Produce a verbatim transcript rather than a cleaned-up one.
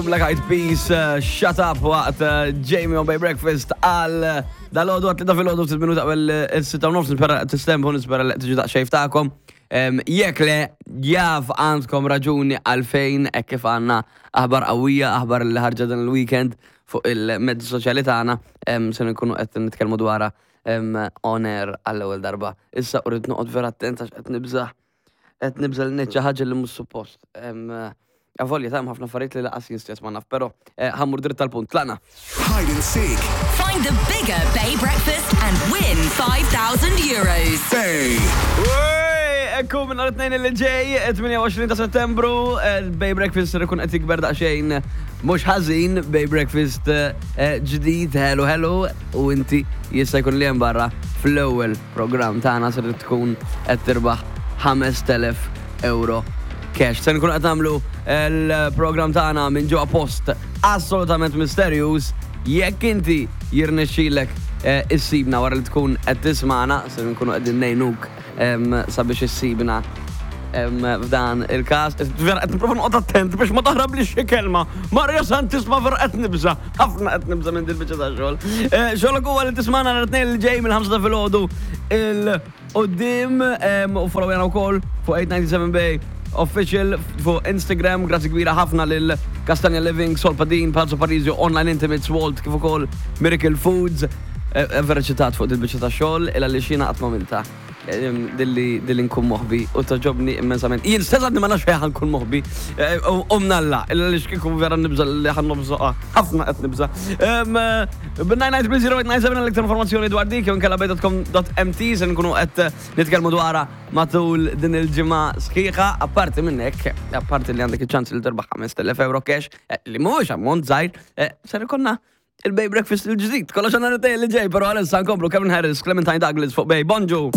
Black Eyed Peas, uh, Shut Up waqt uh, Jamie on Bay Breakfast għal uh, dal-għodu għat-tlieta filgħodu, ftit minuta qabel is-sitta u nofs. Nispera tistempu, nispera li tiġu daqsxejn tagħkom. Em, Jekk le, jaf għandkom raġuni għalfejn, hekk kif għandna aħbar qawwija, aħbar li ħarġa dan il-weekend fuq il-mezzi soċjali tagħna, em, se nkunu qed nitkellmu dwarha em, on air għall-ewwel darba. Issa rrid noqgħod vera attent għax qed nibża' qed nibża' li ngħid xi ħaġa li mhux suppost. Em, Avolja ta' ħafna affarijiet li lanqas jien stess ma naf, però eh, ħa mmur dritt tal-punt. Tlaqna. Hide and seek. Find the bigger Bay Breakfast and win five thousand euros. Bay. Ekku minn nhar it-Tnejn li ġej, tmienja u għoxrin ta' Settembru, eh, Bay Breakfast ser ikun qed jikber daqsxejn mhux ħażin, Bay Breakfast eh, ġdid, hello hello, u inti jista' jkun li hemm barra fl-ewwel programm tagħna ser tkun qed tirbaħ ħamest elef euro cash. Se nkun qed nagħmlu l-programm tagħna minn ġewwa post assolutament misterjuż. Jekk inti jirnexxilek eh, issibna wara li tkun qed tismana, se nkunu qegħdin ngħinuk em, sabiex issibna em, f'dan il-każ. Vera qed nipprova noqgħod attent biex ma taħrab li xi kelma. Maria Santissima, vera qed nibża. Ħafna qed nibża minn dil-biċċa ta' xogħol. Eh, Xogħolok huwa li tismana nhar it-Tnejn li ġej mill-ħamsa ta' filgħodu 'l quddiem em, u followjana wkoll fuq eight ninety-seven Bay Official fuq Instagram. Grazzi kbira ħafna lil Castagna Living, Solpadin, Palazzo Parisio, Online Intimates, Walt, kif ukoll Miracle Foods. Eh, eh, Vera ċitat fuq dil-biċċa ta' xogħol illa li xina qatt m'għamilta. Em, Dilli dilli nkun moħbi u togħġobni immensament. Jien stess għadni ma nafx fejn ħa nkun moħbi. Eh, U u mnalla, illa li xkiku vera nibża li ħa nobżoqa. Ħafna qed nibża. Bin-nine nine three zero eight nine seven l-iktar informazzjoni dwar dik, jew inkella bay dot com dot M T. Se nkunu qed nitkellmu dwarha matul din il-ġimgħa sħiħa. Apparti minn hekk, apparti li għandek iċ-ċans li terbaħ ħamest elef euro cash, eh, li mhuwiex ammont żgħir, eh, ser ikollna il-Bay Breakfast il-ġdid. Kollox għandna li ġej, pero għalissa nkomplu Kevin Harris, Clementine Douglas fuq Bay. Bonġu!